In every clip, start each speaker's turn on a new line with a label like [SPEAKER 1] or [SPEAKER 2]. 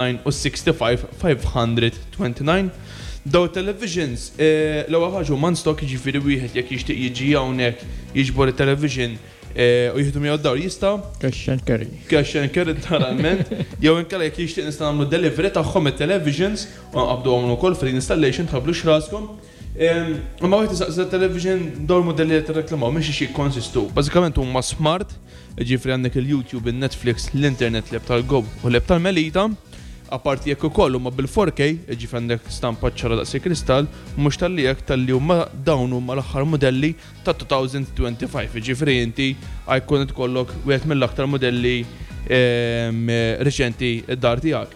[SPEAKER 1] u 65 529. Daw it-televisions, l-ewwel ħaġa huma in stock, jiġifieri wieħed jekk jixtieq jiġi hawnhekk jiġbor it-television u jieħdu miegħu d-dar jista'.
[SPEAKER 2] Cash and carry.
[SPEAKER 1] Cash and carry literalment. Jew inkella jekk jixtieq nista' nagħmlu delivery tagħhom it-televisions u nqabbduhom ukoll free installation tħabblux raskom. Imma wieħed isaqsi television dawn il-modelli li qed tirreklamaw minn xiex jikkonsistu. Bażikament huma smart, jiġifieri għandek il-YouTube, il-Netflix, l-internet, l-app tal-Go u l-app tal-Melita. Apparti jekk ukoll huma bil-4K, jiġifieri għandek stampa ċara daqs il-kristall, mhux talli hekk talli huma dawn huma l-aħħar mudelli ta' 2025, jiġifieri inti ħa jkun ikollok wieħed mill-aktar mudelli riċenti d-dar tiegħek.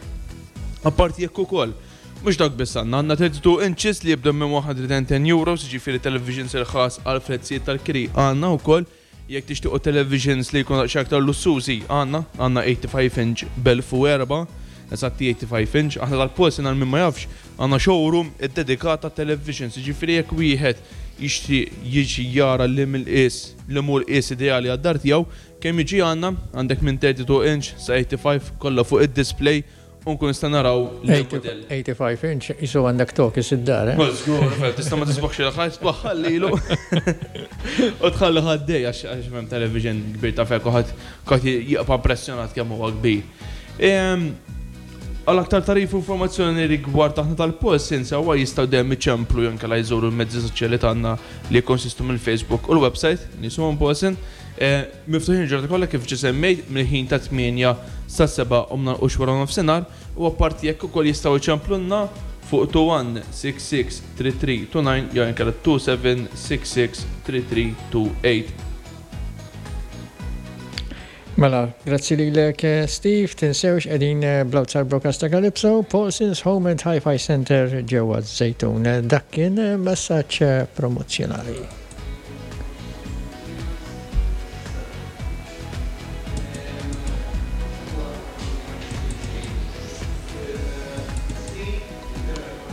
[SPEAKER 1] Apparti jekk ukoll, mhux dak biss għandna, għandna 32 inches li jibdew minn €110, jiġifieri televisions irħas għal prezzijiet tal-kiri għandna wkoll. Jekk tixtiequ televisions li jkunu daqsxejn aktar lussużi, għandna, għandna 85 inch b'1004, eżatti 85 inch. Aħna tal-Paulsen għal min ma jafx, għandna showroom iddedikat għat-televisions, jiġifieri jekk wieħed jixtieq jiġi jara li mill-qies li mhu l-qies ideali għad-dar tiegħu, kemm jiġi għandna, għandek minn 32 inch sa 85 kollha fuq id-display u nkun nista' naraw
[SPEAKER 2] l-mudell. 85 inch qisu għandek tokis id-dar, eh?
[SPEAKER 1] Żgur, tista' ma tisbaħx il-ħajt tbaħħal lilu. U tħalli ħaddej għax hemm television kbir ta' fek u ħadd jibqa' impressjonat kemm huwa kbir. Għal aktar tagħrif u informazzjoni rigward aħna tal-Paulsen sewwa jistgħu dejjem iċemplu jew inkella jżuru l-mezzi soċjali tagħna li jikkonsistu mill-Facebook u l-website li jisimhom Paulsen. Miftuħin il-ġurnata kollha kif ġa semmejt mill-ħin ta' 8 sa 7 u mnalqux wara nofsinhar u apparti jekk ukoll jistgħu jċemplulna fuq 2166 3329 jew inkella 2766 3328.
[SPEAKER 2] Mela, grazzi lilek Steve, tinsewx qegħdin bl-outside broadcast ta' Calypso, Paulson's Home and Hi-Fi Center ġewwa Żejtun. Dak kien messaġġ promozzjonali.